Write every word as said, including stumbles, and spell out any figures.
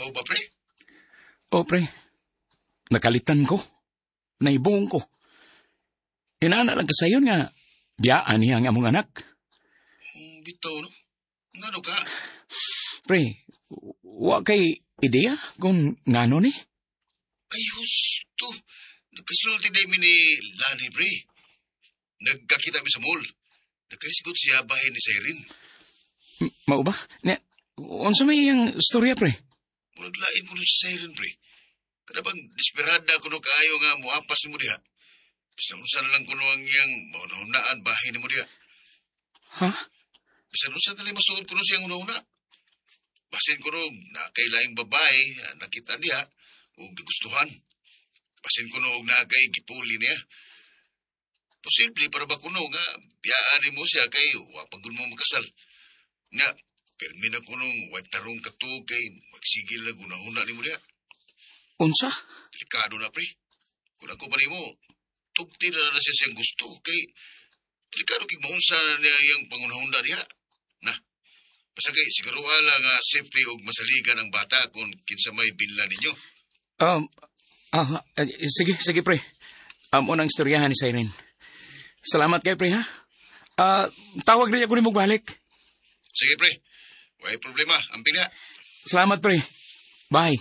Mao ba, pre? O, pre. Nakalitan ko. Naibong ko. Inana lang kasayon nga, biyaan niya ang among anak. Hmm, bitaw, no? Ngano ka? Pre, wa kay ideya kung ngano ni? Ay, husto. Nagkasulti na mi ni Lani, pre. Nagkakita mi sa mall. Nagkahisgot siya bahin ni Cyrene. M- Mao ba? Nya, unsa may iyang storya, pre? Murag lain kuno si Cyrene, pre. Kada bang desperada kuno kaayo nga muapas nimo diha. Bisan unsa na lang kuno ang iyang mahunahunaan bahin nimo diha. Ha? Bisan unsa na lang masuod kuno siyang hunahuna. Basin kuno naa kay laing babae ah, nakita niya ug gigustuhan. Basin kuno og naa kay gipuli niya. Posible para ba kuno nga biyaan nimo siya kay wa pa gud mo makasal. Nga pirmi na kunong way tarong katuog kay magsigil lang hunahuna nimo diha. Unsa? Delikado na, pre. Kung ako pa nimo, tugti na na siya siyang gusto kay delikado kay maunsa na niya iyang pangunahuna diha. Na, basta kay siguruha lang nga safety og masaligan ang bata kung kinsa may binla ninyo. Um, ah, eh, sige, sige, pre. Amo nang istoryahan ni Cyrene. Salamat kay pre, ha? Ah, tawag rin ako nimo balik. Sige, pre. Way problema. Amping diha. Salamat, pre. Bye.